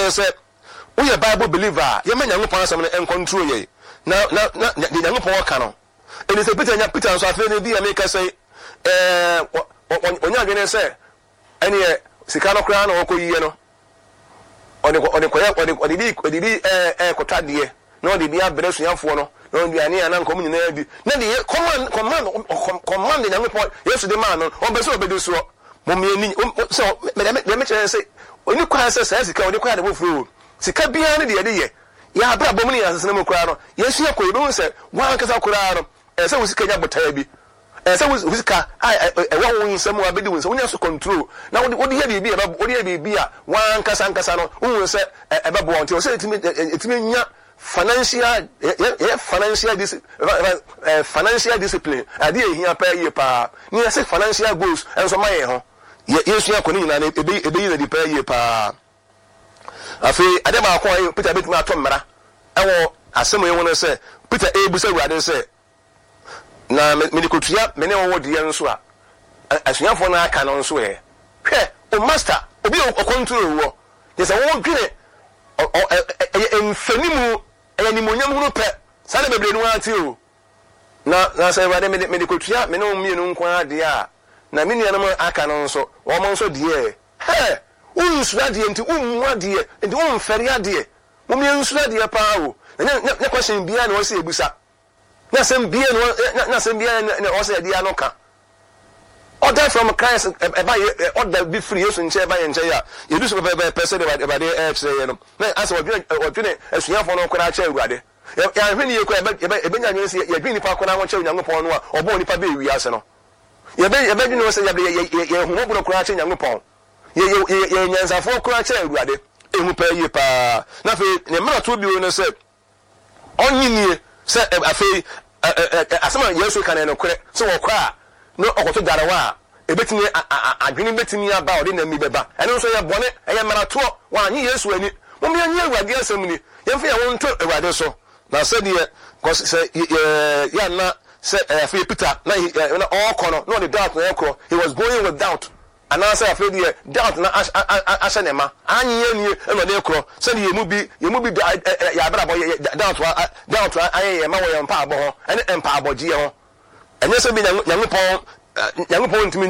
sɛ, woyɛ Bible believer a, yɛmma Nyankopɔn asɛm no nkɔntro yɛn, na, na, na, deɛ Nyankopɔn ɔka no. Ɛnti sɛ Peter nya, Peter nso afei no bi a meka sɛ, ɛɛ, ɔnya adwene sɛ, ɛneɛ sika no koraa na ɔkɔ yie no, ɔde kɔ, ɔde kɔyɛ, ɔde, ɔde bi, ɔde bi ɛɛ, ɛɛkɔtɔ adeɛ, na ɔde bi abrɛ asuafoɔ no, na aduane a na nka wɔn nyinaa di, na deɛ command, command, command Nyankopɔn, Yesu de maa no, ɔmpɛ sɛ ɔbɛdi soɔ. Mom yɛn ni, sɛ, mɛ, deɛ mekyerɛ ne sɛ, ɔni kwan sɛ saa sika ɔde kɔyɛ ade foforɔ o. Sika biara ne deɛ yɛde yɛ. Yɛn abrabɔ mu ne yɛn asetena mu koraa no, yɛsua kɔ, yɛbɛhu sɛ wɔn ankasa koraa no, ɛsɛ sɛ wo sika nya botaeɛ bi. Ɛsɛ sɛ wo sika a ɛwɔ wo nsam a abɛdi wo nsam, wonya so control na wode wode yɛ biribi a ɛbɛ wode yɛ biribi a w'ankasa ankasa no wohu sɛ ɛbɛboa wo. Nti ɛwɔ sɛ yɛtumi yɛtumi nya financial yɛyɛ financial dis financial discipline adeɛ a ɛhia paa yie paa ne yɛsɛ financial goals nso ma yɛn ho. Yɛ yɛsua kɔ ne nyinaa no ɛbɛyi ɛbɛyi no adi paa yie paa. Afei adeɛ baako a Peter bɛtumi atɔ mmara ɛwɔ asɛm yi ho no sɛ Peter ɛrebisa Awurade sɛ, Na mede kɔtua me ne wo deɛ nso a, asuafoɔ no aka no nso ɛ? Hwɛ, o Master, obi a ɔkɔntro woɔ, kyerɛ sɛ wodwene, ɛyɛ mfanimu, ɛyɛ animuonyam hunu pɛ, saa na bebree no ara te o. Na, na sɛ Awurade, mede, mede kɔtua me ne wo mmienu nko ara deɛ a, na me nuanom a aka no nso, wɔn nso deɛ ɛ? Hɛ! Wonsuro adeɛ nti wommu adeɛ, nti womfɛre adeɛ. Mom yɛnsuro adeɛ paa o. Na nyɛ, nyɛ, nyɛ question biara na ɛwɔ sɛ yɛbisa. Nyɛ asɛm biara na ɔ, nyɛ asɛm biara na ɛwɔ sɛ yɛde ano ka. Order from Christ ɛba yɛ, order bi firi Yesu nkyɛn ɛba yɛn nkyɛn a, yɛdi so pɛpɛɛpɛ sɛdeɛ Awurade ɛrekyerɛ yɛn no. Na asɛ wɔdwene, wɔdwene asuafoɔ no koraa kyɛn Awurade. Yɛ, yɛanhwɛ no yie koraa yɛbɛ, yɛbɛ, yɛbɛnya adwene sɛ yɛdwene nnipa koraa ho kyɛn Onyankopɔn no a ɔbɔɔ nnipa bɛɛ wiase no. Yɛbɛ, yɛbɛdwene ho sɛ yɛde, yɛ, yɛ, yɛyɛ ahummɔborɔ koraa kyɛn Nyankopɔn. Yɛ, yɛ, yɛ, yɛyɛ nyansafoɔ koraa kyɛn Awurade. Ehu paa yie paa. Na afei, ne mmaratoɔ bio ne sɛ, Ɔnnye nnie sɛ afei asɛm a Yesu reka no yɛ nokorɛ, sɛ ɔkɔ a na ɔkɔto darewa a, ɛbɛtumi adwene bɛtumi aba a ɔde nam bi bɛba. Ɛno nso ɛyɛ bɔne, ɛyɛ mmaratoɔ. Wannye Yesu anni. Mom yɛnnye Awurade asɛm nni, yɛmfa yɛn ho nto Awurade so. Na sɛdeɛ, kɔs sɛ yɛ anna sɛ afei Peter na na ɔrekɔ no, na ɔde doubt na ɛrekɔ, he was going with doubt. Anaasɛ afei deɛ doubt na ahyɛ ne ma, annye annie na ɔde rekorɔ, sɛdeɛ yɛn mu bi, yɛn mu bi da, yɛn abrabɔ, yɛ, doubt a, doubt ayɛ yɛn ma wɔ yɛn mpaabɔ ho, ɛne mpaabɔgyeɛ ho. Ɛnyɛ sɛ bi Nyankopɔn, Nyankopɔn ntumi nyɛ.